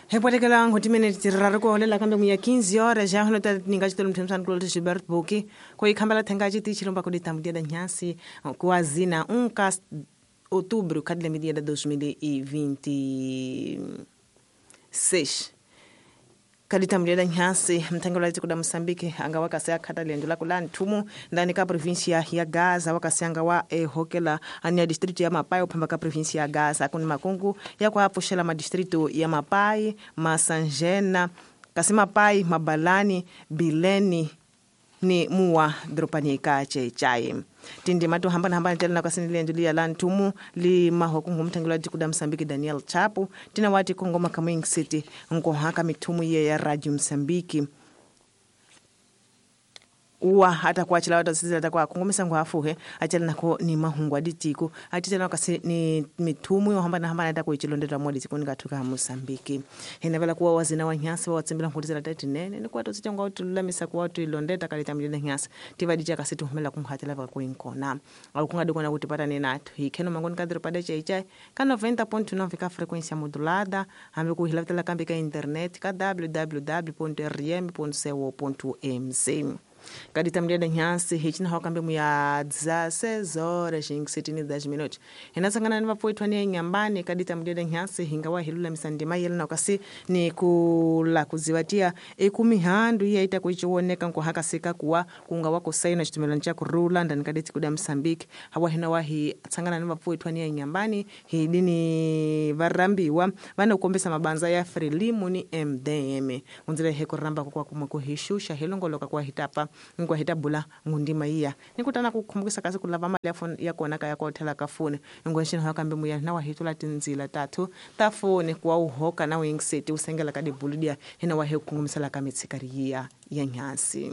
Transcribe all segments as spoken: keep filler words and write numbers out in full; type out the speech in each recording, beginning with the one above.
Hipotekela ngotimene tiraro ko holela kambe muya quinze horas já no tá ninga chitolo mthemsana kulo Gilberto Boki ko ikhambela thenga chiti chilomba ko ditambudia da nyasi kuazina um ka outubro kadle media da dois mil e vinte e seis. Kadita da nyasi mtangalo la kuda Mozambique anga wakase khata lendo la kula nthumu ndani ka província ya Gaza wakase anga wa ehokela ania distrito ya Mapai uphamba ka província ya Gaza kuni makungu ya kwa apuxela ma distrito ya Mapai, Masanjena, kasi Mapai, Mabalani, Bileni ni muwa dropani ka chechai tindima to hambana hambana tena kasi lendo liya la nthumu li mahoko ngumthangelo wa kuda Mozambique Daniel Chapo tina wati kongoma Kamwing City nkohaka mithumu ye ya Radio Mozambique uwa hata kuachila watu sisi kwa kongomesa ngwafuhe achela nako ni mahungu aditiko atitena kasi ni mithumu yo hambana hambana hata kuichilondela modi tikoni kathuka Mozambique henavela kuwa wazina wa nyasi wa tsembela ngutizela tatinene ni kwa totsitya ngwa tululamisa kuwa tuilondeta kalita mjene nyasi tivadicha kasi tuhumela kumhatela va kuinkona au kungadikona kuti patane nathu hikheno mangoni kadro pada chaichai ka noventa ponto nove ka frequência modulada hambe kuhilavitela kambe ka internet ka w w w ponto r m ponto co ponto m z. Kadita mjeda nyasi hichina hokambe muya dezesseis horas e sete dez minutos. Hinasangana ni vapoitwa ni nyambani kadita mjeda nyasi hingawa hilula misandima yelena kasi ni kula kuziwatia ekumihandu iya itakuichioneka nkuhakasika kuwa kunga wako saina chitumelano cha kurula ndani kaditi kuda Mozambique hawa hina wahi tsangana ni vapoitwa ni nyambani hidini varambiwa vana kukombesa mabanza ya Frelimo ni M D M unzile heko ramba kwa kumwe kuhishusha hilongoloka kwa hitapa ngwa hitabula ngundima iya nikutana kukumbukisa kasi kulava mali ya phone ya kona kaya kwa hotel ka phone ngweshini hakambe muya na wahitula tinzila tatu ta phone kwa uhoka na wing city usengela ka dibuludia hina wahe kukungumisela ka mitsikari ya ya nyasi.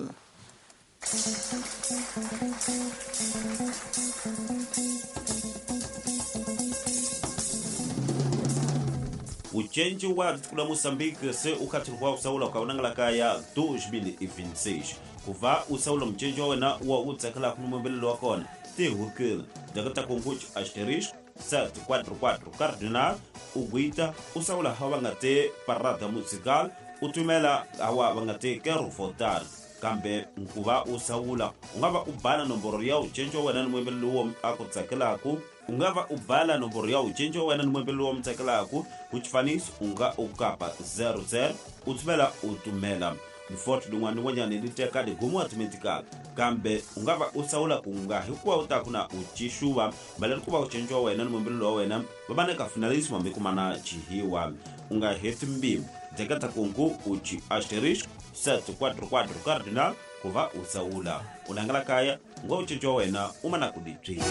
Uchenji wa kula Mozambique se ukhathirwa usaula kaunangala kaya dois mil e vinte e seis kuva usaula mchenji wa wena wa utsakela kumubelelo wa kona tihukile dakata konguch asterisco sete quatro quatro cardinal uguita usaula hawa ngate parada musical utumela hawa ngate quero votar kambe nkuva usaula ungava ubala nomboro ya uchenji wa wena nimubelelo wa akutsakelaku ungava ubala nomboro ya uchenji wa wena nimubelelo wa mtsakelaku kuchifanisi unga ukapa zero zero utumela utumela mfoto dungwani wanyane liteka ligumu automatica kambe ungava usaula kunga hikuwa utakuna uchishuwa balani kuba uchenjwa wena nimubelelo wa wena babaneka finalismo mikumana chihiwa unga heti mbimu dekata kungu uchi asterisco sete quatro quatro cardinal kuva usaula unangala kaya ngwa uchenjwa wena umana kuditwi.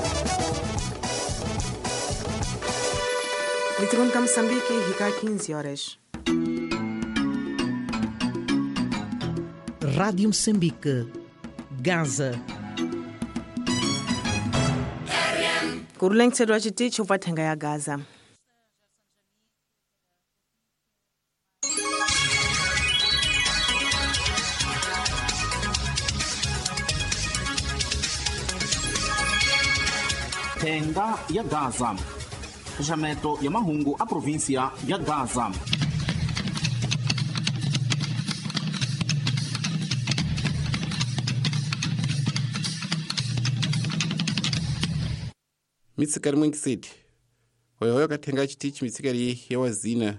Litikon ka Mozambique hika quinze horas. Rádio Moçambique, Gaza. Kurulengitsedwa chitichi upathenga ya Gaza. Thenga ya Gaza. Xaxameto ya mahungu a província ya Gaza. Mitsikari mwengiseti hoyohoyo kathenga chitichi mitsikari ya wazina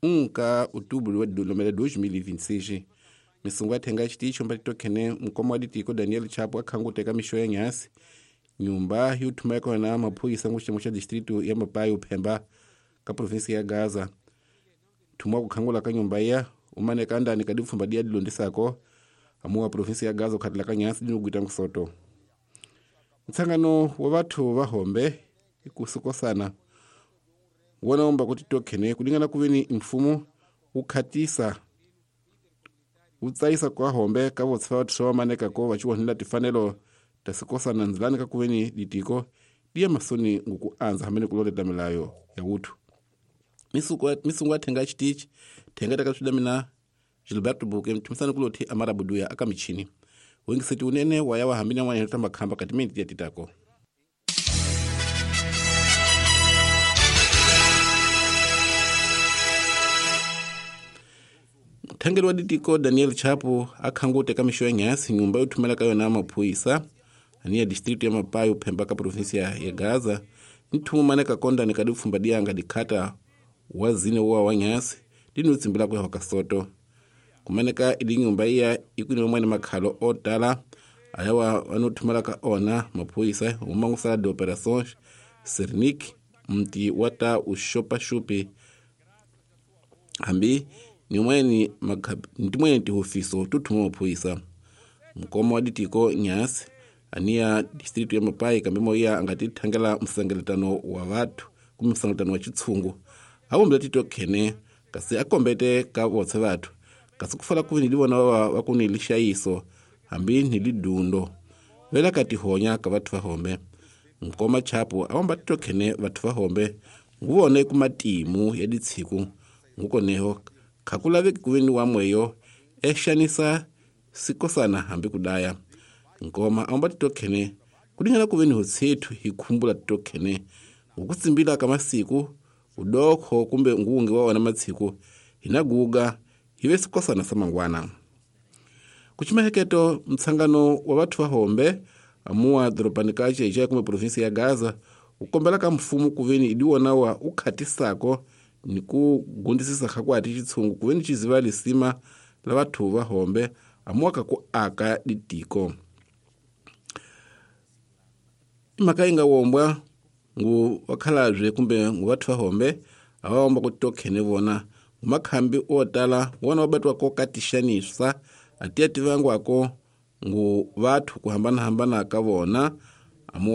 um ka outubro wa lomela dois mil e vinte e seis misungu athenga chitichi ombatitokhene mukoma wa ditiko Daniel Chapo akhangu teka mixo ya nyasi nyumba yuthuma kona maphoyisa nguxitemo xa distrito ya Mapai uphemba ka província ya Gaza thuma kukhangula ka nyumba ya umaneka ndani ka dipfumba dia dilondisako amuwa província ya Gaza ukhatela ka nyasi dinogwita nkusoto. Ntsangano wa batho ba hombe ikusukosana wona omba kuti tokhene kulingana kuveni mfumo ukhatisa utsayisa kwa hombe ka votsfa batho ba maneka ko ba chiwonela tifanelo tasikosana nzilani ka kuveni ditiko diya masoni nguku anza hamene kuloleta milayo ya uthu misungu athenga chitichi thenga takaswida mina Gilberto Buke mthumisani kulothi amara buduya aka michini wengiseti unene waya wahambina mwana tamba khamba kati minti ya titako. Thangeli wa ditiko Daniel Chapo akhangute ka mixo ya nyasi nyumba yo thumela ka yona maphorisa ani ya district ya Mapayo phemba ka provinsia ya Gaza nthumu maneka konda ni ka dipfumba dianga dikhata wa zine wa wa nyasi dino tsimbila ku ka soto kumaneka idi nyumba iya ikuni mwene makhalo o tala ayawa anothumela ka ona maphorisa umangusala de operations Sernik mti wata ushopa shupi hambi nimweni ntimweni tihofiso tuthuma maphorisa mukoma wa ditiko nyasi aniya district ya Mapai kambe moya angati thangela msangeletano wa vathu kumbe msangeletano wa chitshungu awumbila tito khene kasi akombete ka votse vathu kasi kufala kuvi nilivona va va ku ni lixayiso hambi ni lidundo vela ka tihonya ka vathu va hombe mukoma Chapo awamba tito khene vathu va hombe nguvone ku matimu ya ditshiku ngukoneho khakulaveki kuve ni wamweyo exanisa sikosana hambi kudaya nkoma awamba tito khene kudingana kuve ni hotsethu hi khumbula tito khene ngokutsimbila ka masiku udokho kumbe ngungi wa wona matshiku hina guga hive sikosana sa mangwana kuchimaheketo mtsangano wa vathu va hombe amuwa doropani ka Cheche kumbe provinsi ya Gaza ukombela ka mfumo kuveni idiwona wa ukhatisako ni ku gundisisa khakwati chitshungu kuveni chiziva lisima la vathu va hombe amuwa ka ku aka ditiko imhaka yi nga wombwa ngu vakhalabye kumbe ngu vathu va hombe avawomba ku tokhene vona ngumakhambi o tala wona wa batiwa ko katixanisa atiya tivangwako ngu vathu ku hambanahambana ka vona amuwa